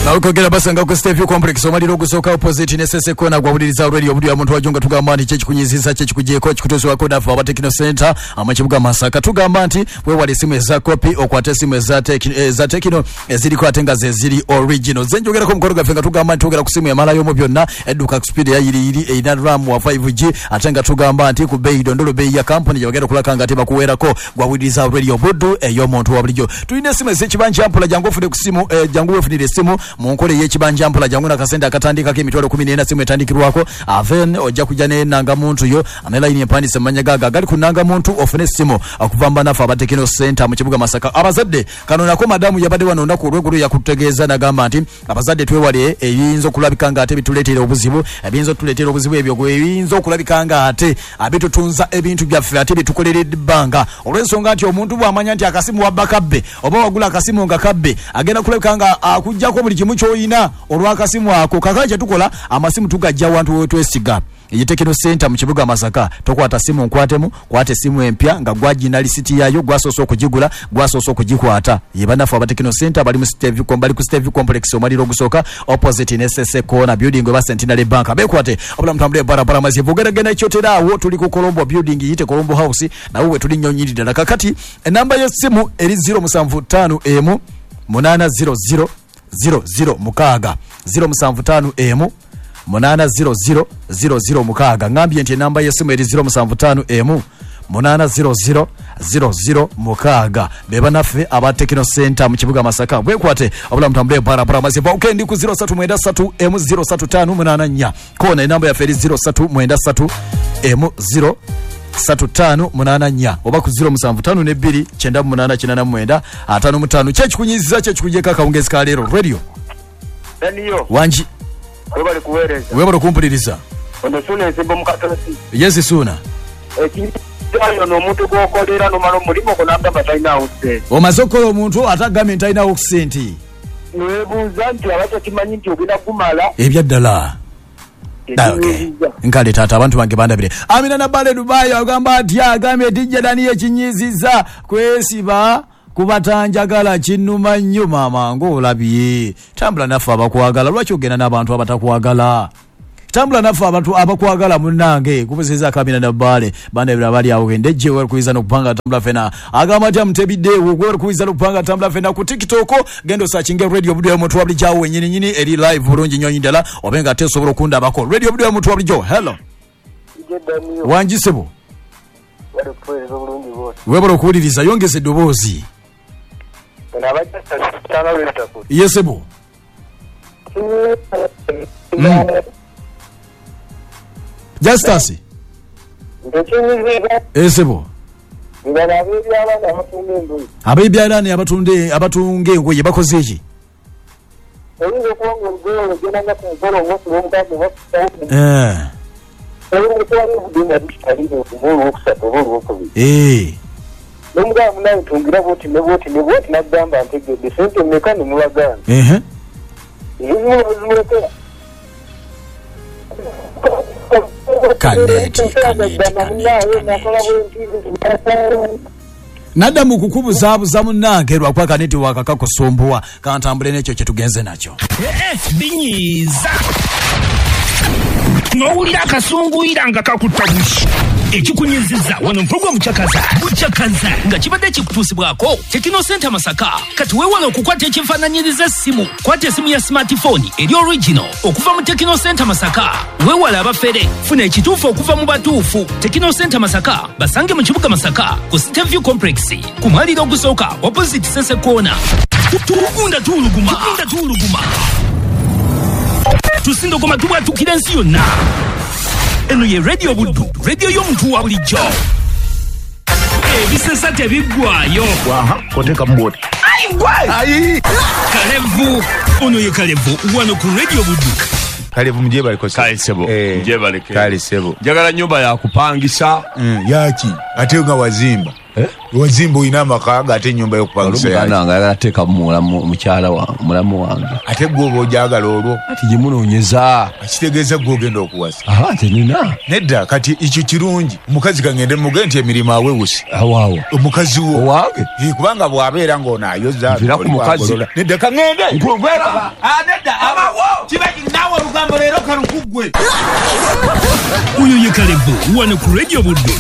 Nawekogera basanga ku Stevie Complex omaliro ogusooka opposite ne Sese Kona gwawuliriza radio Buddu ya muntu wajunga tugamba nti kyekikunyizisa kyekikugyeko kikutuusibwako naffe aba Techno Center amakibuga Masaka. Tugamba nti weewale esimu eza kopi okwate esimu eza Techno eziriko ate nga ze ziri original. Ze njogerako mukono gaffe nga tugamba nti twogera ku simu emalayo mu byonna edduka ku speed eyayiriyiri erina RAM wa 5G ate nga tugamba nti ku bbeeyi dondolo bbeeyi ya kampuni gye bagenda okulaka nga ate bakuweerako. Gwawuliriza radio Buddu ey'omuntu wa bulijjo. Tulina esimu ez'ekibanja mpola, jangu ofune ku simu, jangu weefunire esimu mu nkola ey'ekibanja mpola, jangu nakasente akatandikako emitwalo 14 simu etandikirwako aven ojja kujja n'ennangamuntu yo ne layini empandiise mu mannya gaago agali ku nnangamuntu ofune essimu okuva mu bannaffe aba Techno Center mu kibuga Masaka. Abazadde kano nako madamu yabadde wano olunaku olw'eggulo yakutegeeza n'agamba nti abazadde twewale ebiyinza okulabika nga ate bituleetera obuzibu, ebiyinza otuleetera obuzibu ebyo ebiyinza okulabika nga ate abitutunza ebintu byaffe ate bitukolera ebbanga, olw'ensonga nti omuntu bw'amanya nti akasimu wabba kabbe oba wagula akasimu nga kabbe agenda kulabika nga akuggyako buli kimu ky'olina olw'akasimu ako. Kakati kye tukola amasimu tugajja wantu we twesiga. Ye Techno Center mu kibuga Masaka. Tokwata simu nkwatemu, kwata esimu empya nga gwagina lisiti yaayo, gwasoose okugigula, gwasoose okugikwata. Ye bannaffe aba Techno Center bali mu Stevie bali ku Stevie Complex omaliro ogusooka opposite ne Sese Corner building oba Centenary Bank. Beekwate obulamu tambule barabara mazibu ogeragenda ekyotera awo tuli ku Colombo building yite Colombo House nawe we tuli nnyo nnyini ddala. Kakati enamba y'essimu eri 075 800 00 6 075 800 00 6. Ngambye nti enamba y'essimu eri 075 800 00 6. Be bannaffe aba Techno Center mu kibuga Masaka. Bwekwate obulamu tambule barabara mazibu. Okay, ndi ku 0393 M 03584 kona enamba yaffe eri 0393 M 03584 oba ku 0752 98 89 55. Kyekikunyizza kyekikugyeko akawungezi ka leero radio Daniyo, wangi webale kuweereza. Webale okumpuliriza. Ono Suuna Ensimbo mu Katosi. Yes Suuna. Ekinyayo n'omuntu gw'okolera n'omala omulimu gwo n'agamba talinawo ssente. Omaze okukola omuntu ate agambye nti talinawo ssente. Neweebuuza nti aba takimanyi nti ogenda kumala. Ebyaddala. Ekinyiziza. Nkale taata abantu bange bandabire. Amina Nabale Dubai agamba atya, agambye DJ Daniel ekinyiziza kwesiba kubatanjagala kinnuma nnyo maama ng'olabye. Tambula naffe abakwagala, lwaki ogenda n'abantu abatakwagala? Tambula naffe abantu abakwagala munnange. Kubuzizaako Amina Nabale bandabire abali awo endejje wekuyiza n'okupanga tambula ffena. Agamba atya mutebiddeewo gwekuyiza n'okupanga tambula ffena ku TikTok, genda osakinge radio Buddu y'omuntu wa bulijjo awo wennyini nnyini eri live bulungi nnyo ddala obe nga ate osobola okundabako. Radio Buddu y'omuntu wa bulijjo. Hello. Ije Daniyo, Wangi ssebo. wali kuweereza obulungi bwose. Weebale okuwuliriza, yongeza eddoboozi. Ono abajja tanga lwetaku. Ye ssebo. Justus. Ekinyiziza Esebo. nga ab'ebyalaani abatunga engoye. Ab'ebyalaani abatunga engoye bakoze ki? Oyinza okuba nga olugoye olwo ogenda nga ku mukolo olunaku lw'omukaaga oba kusatu. Olw'okutwala obudde nga bukitalire oba olwokusatu oba olwokubiri. N'omugamba munange tungira bwoti ne bwoti ne bwoti n'agamba ntegedde ssente mmeka ne mulagaana. Ezimu bazimulekera. Kaneti, kaneti, kaneti, kaneti. Nadda mu kukubuzaabuza munnange lwakuba kaneti wakakakusumbuwa kantambule n'ekyo kye tugenze nakyo. Binyiiza n'owulira akasunguyira nga kakutta bushi. Ekikunyiziza wano mpulugwa mucakaza bucakaza nga kibadde kikutuusibwako Techno Center Masaka. Kati weewale okukwata ekifaananyiriza essimu, kwata esimu ya smartphone eri original okuva mu Techno Center Masaka. Weewale abafere, funa ekituufu okuva mu batuufu. Techno Center Masaka basange mu kibuga Masaka ku Steview Complex ku mwaliro ogusooka opposite Sese Corner. Tugunda tuwuluguma, tugunda tuwuluguma, tusindogoma tubwatukira ensi yonna. Eno ye Radio Buddu, radio y'omuntu wa bulijjo. Ebisesa tebiggwayo. Kotekamu bwoti. Kalevu ono ye Kalevu wano ku Radio Buddu. Kalevu mujebaleko. Kale ssebo, njebaleke. Kale ssebo. Njagala nyumba yakupangisa. Yaki ate nga wazimba? Wazimba olina amaka ga ate ennyumba y'okupangisa Olwo yaki? muganda wange ayagala teekamu mukyala mulamu wange. Ate gwe oba ogyagala olwo? Ati gimunoonyeza. Kitegeeza gwe ogenda okuwasa. Aha, nze nina. Nedda, kati ekyo kirungi. Omukazi kangende mugende nti emirimu awewuse. Awaawo. Omukazi wo. Owange? Kubanga bw'abeera ng'ono ayoza, Nvira ku oli mukazi. bw'agolola. Nedda, kangende. Nkwera. Nedda, abawo. Kiba naawe olugambo leero kalukuggwe. Oyo ye Kalevu wano ku Radio Buddu.